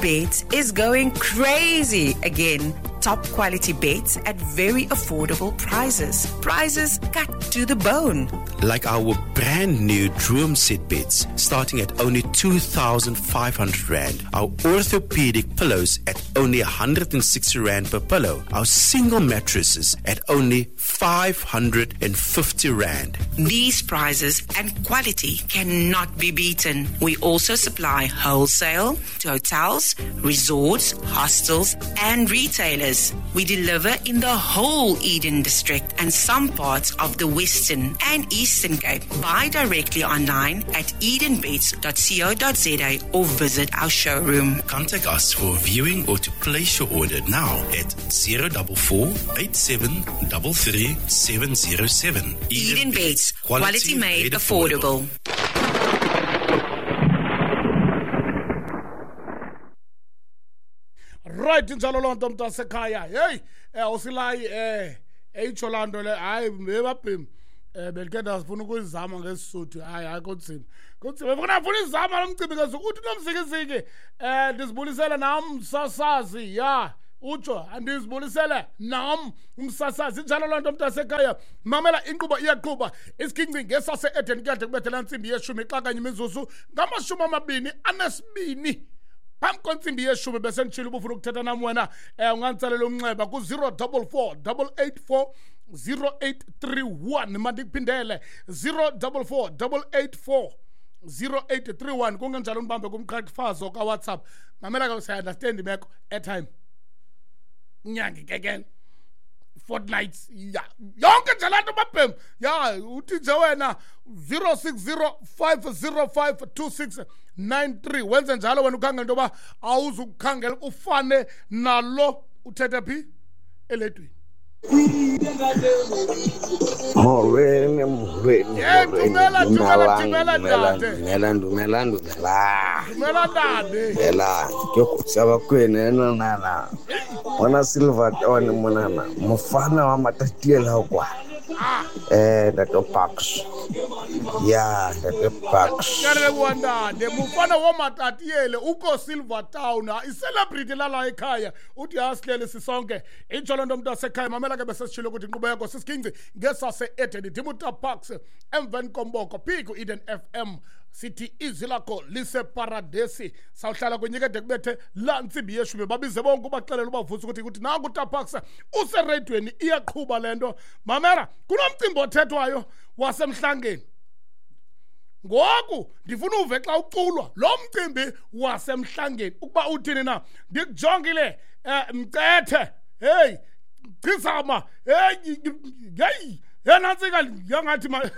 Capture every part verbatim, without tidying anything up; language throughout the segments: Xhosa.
Beds is going crazy again. Top quality beds at very affordable prices. Prices cut to the bone. Like our brand new Droom set beds starting at only two thousand five hundred rand. Our orthopedic pillows at only one hundred and sixty rand per pillow. Our single mattresses at only five hundred and fifty rand. These prices and quality cannot be beaten. We also supply wholesale to hotels, resorts, hostels and retailers. We deliver in the whole Eden district and some parts of the Western and Eastern Cape. Buy directly online at eden beds dot co dot za or visit our showroom. Contact us for viewing or to place your order now at zero double four eight seven double three seven zero seven. Eden, Eden Beds, quality, quality made, made affordable. Right, njalo loo nto mntasekhaya. Hey, eh usilayi eh eyitsho laa nto le, hayi bebabhim. Eh belikhe ndasifuna ukuyizama ngesisuthu. Hayi hayi kunzima. Kunzima. Befuna ndifuna izama lo mcimbi ke uthi nomzikiziki. Eh ndizibulisele nam msasazi. Ya, utsho andizibulisele nam umsasazi. Njalo loo nto mntasekhaya. Mamela inkqubo iyaqhuba. Isiginci ngesase Eden kuyade kubethela intsimbi yeshumi xa kanye imizuzu ngamashumi amabini anesibini. Phambi kwentsimbi yeshumi bese nditshilo uba ufuna ukuthetha nam wena, eh unganditsalela umnxeba ku zero double four double eight four zero eight three one. Mandikuphindele zero double four double eight four zero eight three one. Kungenjalo ndibambe kumqhafazo kaWhatsApp. Mamela ke, siya-understand imeko, airtime inyanga ikekele fortnights, ya yonke nje laa nto babhem. Ya uthi nje wena zero six zero five zero five two six nine three. Wenze njalo wena ukhangela into yoba awuzukukhangela ufane nalo uthethe phi eledweni. Molweni, molweni, Hey, dumela, dumela, dumela, dumela, ntate. dumela, dumela, dumela. Dumela, ntate. Dumela, ke go tshaba kwena ena nana. Bona Silverton monana, mofana wa Matatiele kwa. Eh, Ntate Parks. Ya, Ntate Parks. Ke a leboha ntate. Mofana wa Matatiele uko Silvertown, i-celebrity lala ekhaya. Uthi asihlele sisonke. Intsho loo nto mntu asekhaya. Mamela ke besesitshilo ukuthi inkqubo yakho sisiginci ngesase Eden. Ndimuta Parks emveni komboko phi ku Eden F M. Sithi izwi lakho liseparadesi. Sawuhlala kwinyika de kubethe laa ntsimbi yeshumi. Babize bonke ubaxelele ubavuse ukuthi ukuthi nanku uTa Parks usereyidweni, iyaqhuba le nto. Mamela, kunomcimbi othethwayo wasemhlangeni. Ngoku ndifuna uve xa uculwa lo mcimbi wasemhlangeni ukuba uthini na. Ndikujongile, eh, Mcethe, hey Chizama, hey hey yenantsika yangathi ma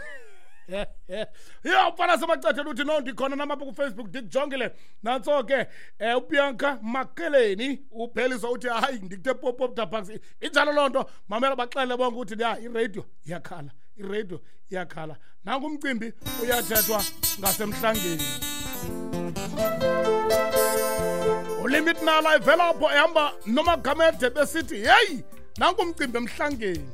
ya mfana semacetheni uthi no ndikhona nam apha kuFacebook ndikujongile. Nantso ke, eh, uBianca Makeleni upheliswa uthi hayi ndikuthe pop pop Ta Parks. Injalo loo nto. Mamela baxele bonke ukuthi ya iradio iyakhala, iradio iyakhala. Nanku umcimbi uyathethwa ngasemhlangeni. Ulimit Nala ivela apho ehamba noMagamede besithi hey nanku umcimbi emhlangeni.